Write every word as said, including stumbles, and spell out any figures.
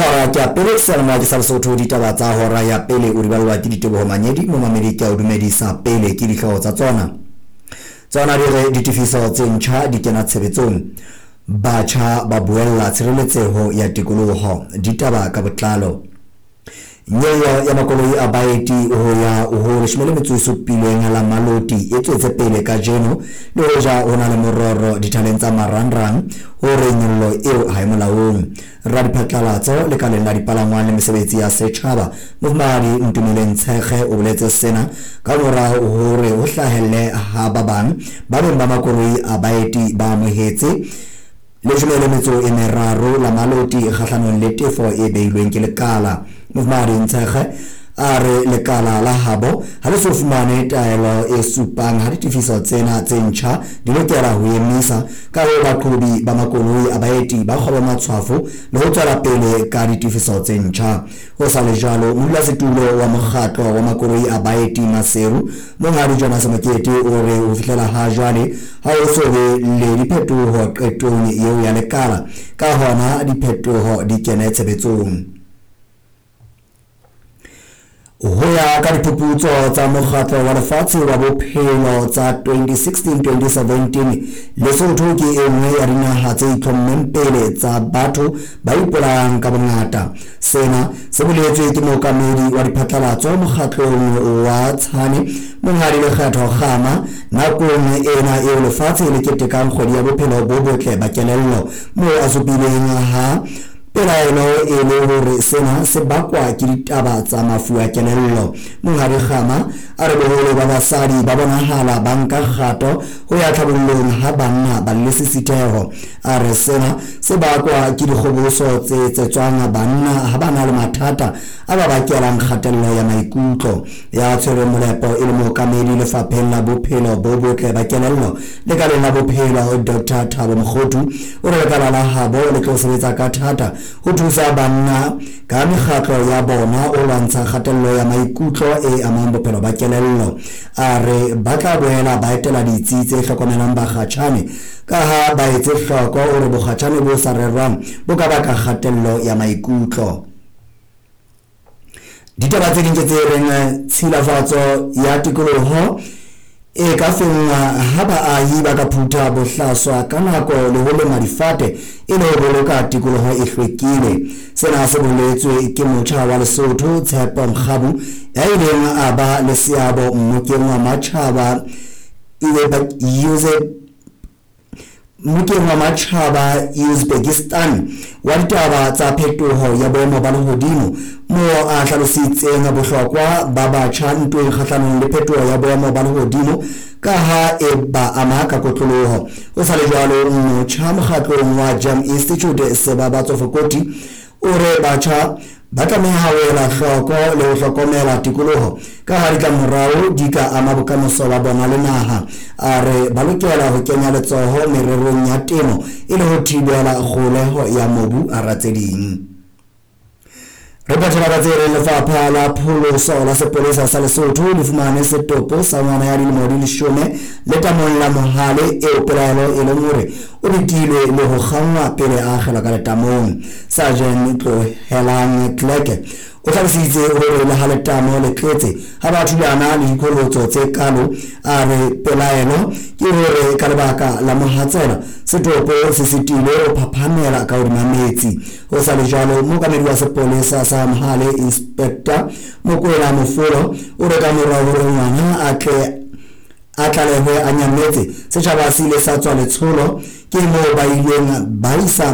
Hora ke ya pele seyalemoya ke sa Lesotho. Ditaba tsa hora ya pele o di ballwa ke Diteboho Manyedi. Momamedi, ke a o dumedisa. Pele ke dihlooho tsa tsona. Tsona di re ditefiso tse ntjha di kena tshebetsong, batjha ba buella tshireletseho ya tikoloho. Ditaba ka botlalo. Nyollo ya makoloi a baeti ho ya ho leshome le metso e supileng la maloti e tswetse pele kajeno, le hoja ho na le mororo dithaleng tsa marangrang hore nyollo eo ha e molaong. Radiphatlalatso lekaleng la dipalangwang le mesebetsi ya setjhaba, Mofumahadi Ntumeleng Tshekge, o boletse sena ka mora hore ho hlahelle ha ba bang ba beng ba makoloi a baeti ba amohetse leshome le metso e meraro la maloti kgahlanong le tefo e beilweng ke lekala. Mofumahadi Ntshekge a re lekala la habo ha le so fumane taelo e supang ha ditefiso tsena tse ntjha di lokela ho emisa, ka hoo baqhobi ba makoloi a baeti ba kgobe matshwafo le ho tswela pele ka ditefiso tse ntjha. Ho sa le jwalo, modulasetulo wa mokgatlo wa makoloi a baeti Maseru, Monghadi Jonas Mokete, o re ho fihlela ha jwale ha ho so be le diphetoho qetong eo ya lekala, ka hona diphetoho di kene tshebetsong. Ho ya ka diphuputso tsa Mokgatlo wa Lefatshe wa Bophelo tsa twenty sixteen twenty seventeen, Lesotho ke e nngwe ya dinaha tse itlhommeng pele tsa batho ba ipolayang ka bongata. Sena se boletswe ke mookamedi wa diphatlalatso mokgatlong wa Tshane, Monghadi Lekgetho Kgama, nakong ena eo lefatshe le ketekang kgwedi ya bophelo bo botle ba kelello, moo a supileng ha pelaelo e le hore sena se bakwa ke ditaba tsa mafu a kelello. Monghadi Kgama a re boholo ba basadi ba bonahala ba nka kgato ho ya tlhabollong ha banna ba le lesisitheho. A re sena se bakwa ke dikgoboso tse etsetswang banna ha ba na le mathata a ba bakelang kgatello ya maikutlo. Ya tshwereng molepo e le mookamedi lefapheng la bophelo bo botle ba kelello lekaleng la bophelo, Doctor Thabo Mokgothu, o re lekala la habo le tlo sebetsa ka thata ho thusa banna ka mekgatlo ya bona ho lwantsha kgatello ya maikutlo e amang bophelo ba kelello. A re ba tla boela ba etela ditsi tse hlokomelang bakgatjhane, ka ha ba etse hloko hore bokgatjhane bo sa rerwang bo ka baka kgatello ya maikutlo. Ditaba tse ding ke tse reng tshilafatso ya tikoloho e ka fenngwa ha baahi ba ka phutha bohlaswa ka nako le ho lema difate e le ho boloka tikoloho e hlwekile. Sena se boletswe ke motjha wa Lesotho Tshepo Mkgabu, ya ileng a ba le seabo mmokeng wa matjhaba mmokeng wa matjhaba Uzbekistan wa ditaba tsa phetoho ya boemo ba lehodimo, moo a hlalositseng bohlokwa ba batjha ntweng kgahlanong le phetoho ya boemo ba lehodimo ka ha e ba ama ka kotloloho. Ho sa le jwalo, motjha mokgatlong wa Jam Institute Sebabatso Fokoti o re batjha ba tlameha ho ela hloko le ho hlokomela tikoloho ka ha ditlamorao di ka ama bokamoso ba bona le naha. A re ba lokela ho kenya letsoho mererong ya temo e le ho thibela kgoholeho ya mobu hara tse ding. Re phethela ka tse reng lefapha la pholoso la sepolesa sa Lesotho le fumane setopo sa ngwana ya dilemo di leshome letamong la Mohale eo pelaelo e leng hore o betilwe le ho kgangwa pele a akgelwa ka letamong. Sergeant Tlohelang Kleke o hlalositse hore le ha letamo le tletse ha ba thulana le diqholotso tse kalo, a re pelaelo ke hore ka lebaka la mohatsela setopo se sitilwe ho phaphamela ka hodima metsi. Ho sa le jwalo, mookamedi wa sepolesa sa Mohale, Inspector Mokwena Mofolo, o re ka mora hore ngwana a tle a tlalehwe a nyametse, setjhaba se ile sa tswa letsholo, ke moo ba ileng ba isa